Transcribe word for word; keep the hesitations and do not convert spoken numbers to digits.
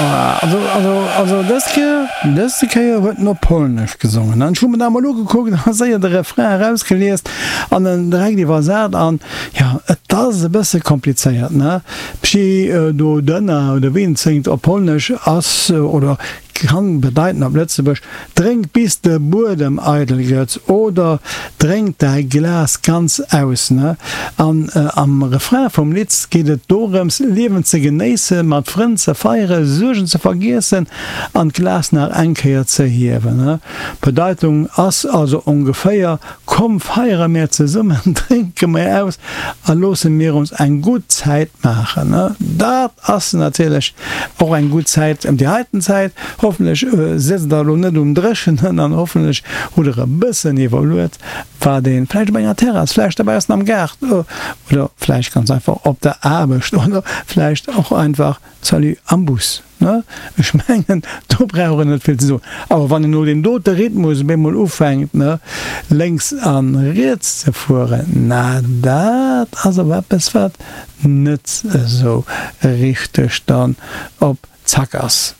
Also, also, also dës Kéier, dëste Kéier huet en op Polnesch gesongen. An ech hu mer dat emol ugekuckt a séier de Refrain erausgeliest an en direkt iwwersat an, jo, et ass e bësse komplizéiert, ne? Pchi do dënna oder wéi en et séngt op Polnesch ass, oder Kann bedeiten op Lëtzebuerg, Drénk bis de Buedem eidel gëtt oder Drénk däi Glas ganz aus. Ne? An am Refrain vum Lidd geet et dorëms, Liewen ze genéissen, mat Frënn ze feieren, Suergen ze vergiessen an d'Glas nach eng Kéier ze hiewen. Ne? D'Bedeitung ass also ongeféier, Komm feiere mir zesummen, drénke mir aus a loosse mir ons eng gutt Zäit maachen. Dat ass natierlech och eng gutt Zäit, déi heiten Zäit. Hoffentlech sëtzt der elo net um Dréchenen an hoffentlech hutt der e bëssen iwwerluet, wat ee vläicht op enger Terrass, vläicht dobaussen am Gaart oder vläicht ganz einfach op der Aarbecht oder vläicht och einfach, salut, am Bus. Ne? Ech mengen, do brauch een net vill ze soen. Awer wann een no deem dote Rhythmus op eemol ufänkt, ne, lénks a riets ze fueren, na, dat ass awer eppes, wat net esou richteg dann op Zack ass.